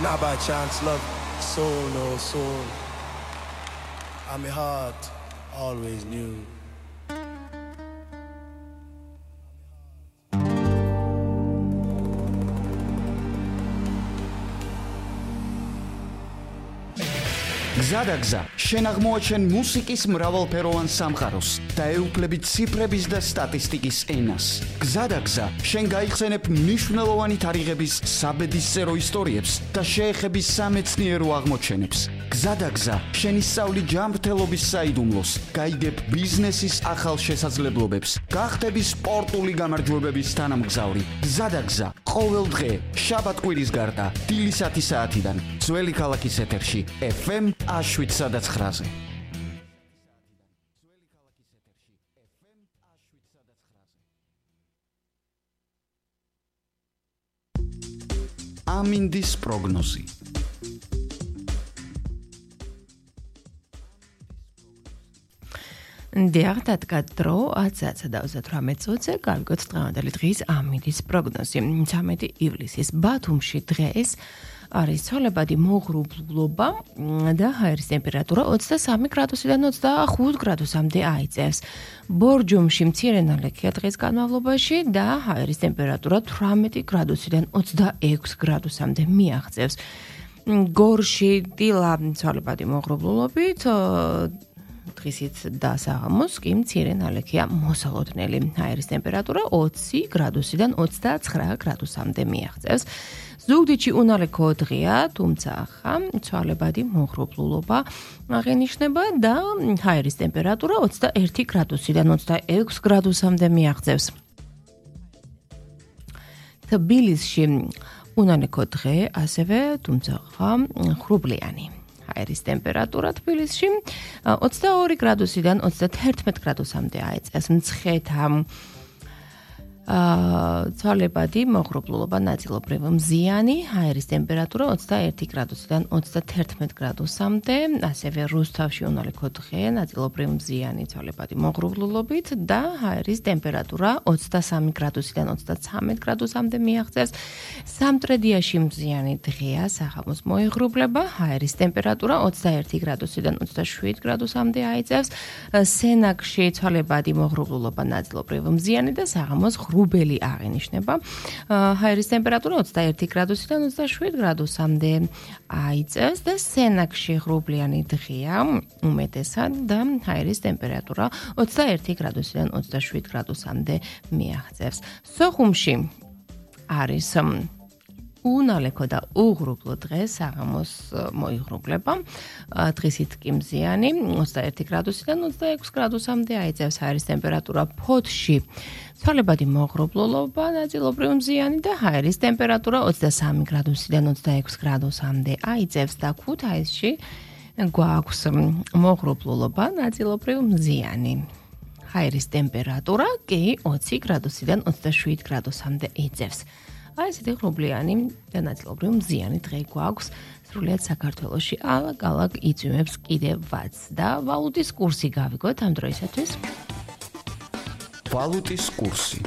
And I by chance love soon, oh soon. And my heart always knew. გზადაგზა შენ აღმოაჩენ მუსიკის მრავალფეროვან სამყაროს და ეუფლები ციფრების და სტატისტიკის ენას. გზადაგზა შენ გაიხსენებ მნიშვნელოვანი თარიღების საბედისწერო ისტორიებს და შეეხები სამეცნიერო აღმოჩენებს. გზადაგზა შენ ისწავლი ჯანმრთელობის საიდუმლოს, გაიგებ ბიზნესის ახალ შესაძლებლობებს, გახდები სპორტული გამარჯვებების თანამგზავრი. გზადაგზა ყოველ დღე შაბათ-კვირის გარდა დილისათი საათიდან ძველი ქალაქის ეთერში FM 7-9-ზე. ამინდის პროგნოზი. დიახ, დადგა დრო 10:38-ზე გავიგოთ დღევანდელი დღის ამინდის პროგნოზი. 13 ივლისის ბათუმში დღეს არის ცოლებადი მოღრუბლობა და ჰაერის ტემპერატურა 23 გრადუსიდან 25 გრადუსამდე აიწევს. ბორჯომში მცირე ნალექია დღის განმავლობაში და ჰაერის ტემპერატურა 18 გრადუსიდან 26 გრადუსამდე მიაღწევს. გორში დილა ცოლებადი მოღრუბლობით დღისით და საღამოს კი მცირე ნალექია მოსალოდნელი. ჰაერის ტემპერატურა 20 გრადუსიდან 29 გრადუსამდე მიაღწევს. ზუგდიდში უნალექო დღეა, თუმცა ახლა ცვალებადი მოღრუბლულობა აღინიშნება და ჰაერის ტემპერატურა 21 გრადუსიდან 26 გრადუსამდე მიაღწევს. თბილისში უნალექო დღე, ასევე თუმცა ახლა ღრუბლიანი. ჰაერის ტემპერატურა თბილისში 22 გრადუსიდან 31 გრადუსამდე აიწევს. მცხეთა ცვალებადი მოღრუბლულობა ნაწილობრივ მზიანი, ჰაერის ტემპერატურა 21 გრადუსიდან 31 გრადუსამდე, ასევე რუსთავში უნალექო დღე, ნაწილობრივ მზიანი ცვალებადი მოღრუბლულობით და ჰაერის ტემპერატურა 23 გრადუსიდან 33 გრადუსამდე მიაღწევს. სამტრედიაში მზიანი დღეა, საღამოს მოიღრუბლება, ჰაერის ტემპერატურა 21 გრადუსიდან 27 გრადუსამდე აიწევს. სენაკში ცვალებადი მოღრუბლულობა ნაწილობრივ მზიანი და საღამოს ღრუბელი აღინიშნება. ჰაერის ტემპერატურა 21 გრადუსიდან 27 გრადუსამდე აიწევს და სენაკში ღრუბლიანი დღეა უმეტესად და ჰაერის ტემპერატურა 21 გრადუსიდან 27 გრადუსამდე მიაღწევს. სოხუმში არის უნალექო და უღრუბლო დღე, საღამოს მოიღრუბლება, დღისით კი მზიანი, 21 გრადუსიდან 26 გრადუსამდე აიწევს. ჰაერის ტემპერატურა ფოთში ცვალებადი მოღრუბლულობა, ნაწილობრივ მზიანი და ჰაერის ტემპერატურა 23 გრადუსიდან 26 გრადუსამდე აიწევს და ქუთაისში გვაქვს მოღრუბლულობა, ნაწილობრივ მზიანი. ჰაერის ტემპერატურა კი 20 გრადუსიდან 27 გრადუსამდე იწევს. აი ესეთი ღრუბლიანი და ნაწილობრივ მზიანი დღე გვაქვს სრულიად საქართველოში. ალაგ-ალაგ იწვიმებს კიდევაც და ვალუტის კურსი გავიგოთ ამ დროისათვის. ვალუტის კურსი.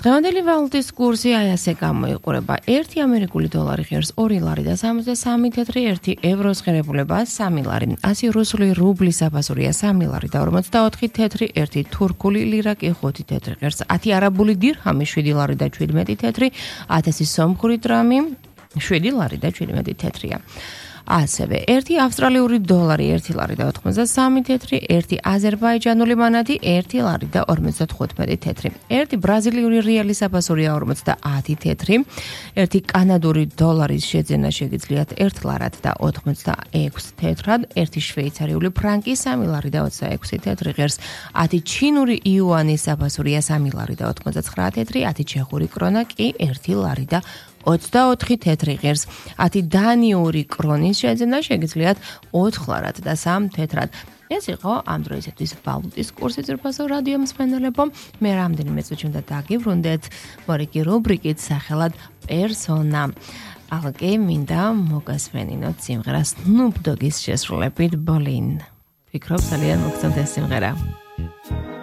დღევანდელი ვალუტის კურსი აი ასე გამოიყურება. 1 ამერიკული დოლარი ღირს 2 ლარი და 63 თეთრი, 1 ევროს ღირებულება 3 ლარი. 100 რუსული რუბლის აფასურია 3 ლარი და 44 თეთრი, 1 თურქული ლირა კი 5 თეთრი ღირს. 10 არაბული დირჰამი 7 ლარი და 17 თეთრი, 1000 სომხური დრამი 7 ლარი და 17 თეთრია. ასევე 1 ავსტრალიური დოლარი 1 ლარი და 93 თეთრი, 1 აზერბაიჯანული მანატი 1 ლარი და 55 თეთრი, 1 ბრაზილიური რეალის აფასურია 50 თეთრი, 1 კანადური დოლარის შეძენა შეგიძლიათ 1 ლარად და 86 თეთრად, 1 შვეიცარიული ფრანკი 3 ლარი და 26 თეთრი ღირს, 10 ჩინური იუანის აფასურია 3 ლარი და 89 თეთრი, 10 ჩეხური კრონა კი 1 ლარი და 24 თეთრი ღირს, 10 დანიური კრონის შეძენა შეგიძლიათ 4 ლარად და 3 თეთრად. ეს იყო ამ დროისათვის ვალუტის კურსი ძვირფასო რადიო მსმენელებო. მე რამდენიმე წუთში უნდა დაგიბრუნდეთ მორიგი რუბრიკით სახელად პერსონა. ალგე მინდა მოგასმენინოთ სიმღერა Snoop Dogg-ის შესრულებით Bolin. ფიქრობ ძალიან მოგწონთ ეს სიმღერა.